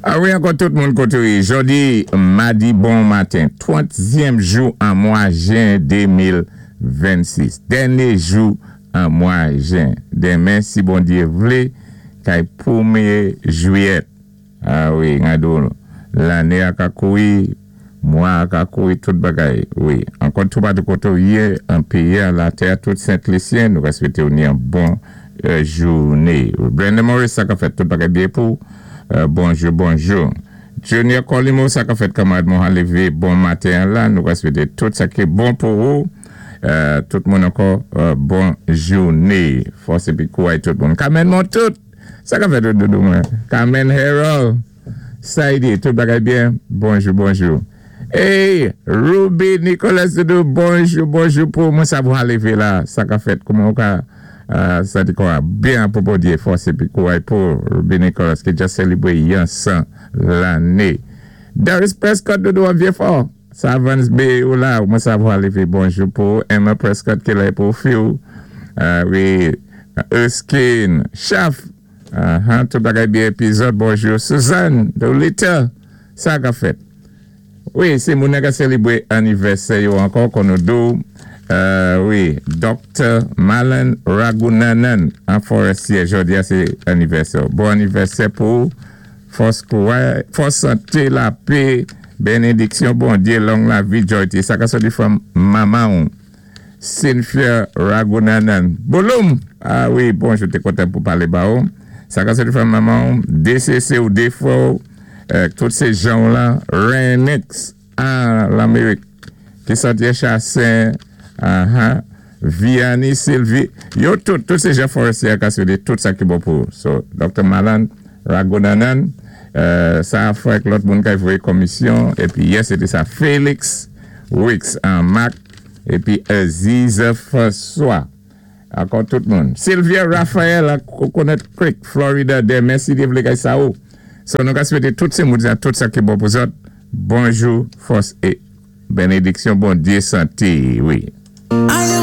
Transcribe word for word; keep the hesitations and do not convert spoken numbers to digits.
A wi, ankò tout moun kotoui. Jòdi, madi, bon maten. Twantyèm jou an mwa jen de mil vennsis. Dènyé jou an mwa jen. Denmen, si Bondyé vlé, kay pwémyé jwiyèt. A wi, gado, lanné a ka koui, mwa a ka koui, tout bagay. Wi, ankò tout patou kotoui, an péyi, an latè, tout Sent-Lisyen, nou ka swété ou ni an bon euh, jouné. Brenda Morris, sa ka fèt tout bagay byen pou. Euh, bonjou, bonjou. Junior Colimo, sa ka fèt, kanmarad mwen lévé, bon maten la, nou ka swété tout sa ki bon pou ou. Euh, tout moun ankò, euh, bon jouné. Fòs épi kouway tout moun. Carmen Montout, sa ka fèt doudou mwen. Carmen Harold, Saïdi, tout bagay byen. Bonjou, bonjou. Hey, Ruby Nicolas doudou, bonjou, bonjou pou mwen sa pou lévé la. Sa ka fèt, kouman ou ka... Euh, sa di kwa, byen pou Bondyé, fòs épi kouway pou Ruby Nicolas ki dja sélébwé yon san lanné. Darius Prescott doudou an byen fò. Sa Vans Bay ou la, mwen sa pou lévé, bonjou pou Emma Prescott ki la pou Phil. Euh, wi, Erskine, Chaf, uh, tout bagay byen épizòd, bonjou. Suzanne, Lolita, sa ka fèt. Wi, sé moun ka sélébwé anivèsè yo ankò kon nou di ou. Euh, wi, Doktè Malan Ragunanan an Forestier, jòdi a sé anivèsè. Bon anivèsè pou fòs kouway, fòs santé, lapè, bénédiksyon, Bondyé, long lavi, joyti. Sa ka sòti from manman Cynthia Ragunanan. Bouloum! A wi, bonjou, té kontan pou palé ba ou. Sa ka sòti from manman D C C ou Defo, euh, tout sé jan la, Renix an Lamérik, ki sòti Chassin, uh-huh. Vianney Sylvie, yo tout, tout sé jan Forestier ka swété tout sa ki bon pou. So, Doktè Malan Ragunanan, euh, sa fè lòt moun ki voyé komisyon, épi yes, sété sa Félix Wix an Mac, épi Aziza François. Ankò tout moun. Sylvia Raphaël à Coconut Creek, Florida, denmen si Dye vlé kay sa ou. So, nou ka swété tout sé moun tout sa ki bon pou zòt. Bonjou, fòs é bénédiksyon, Bondyé, santé, wi. I am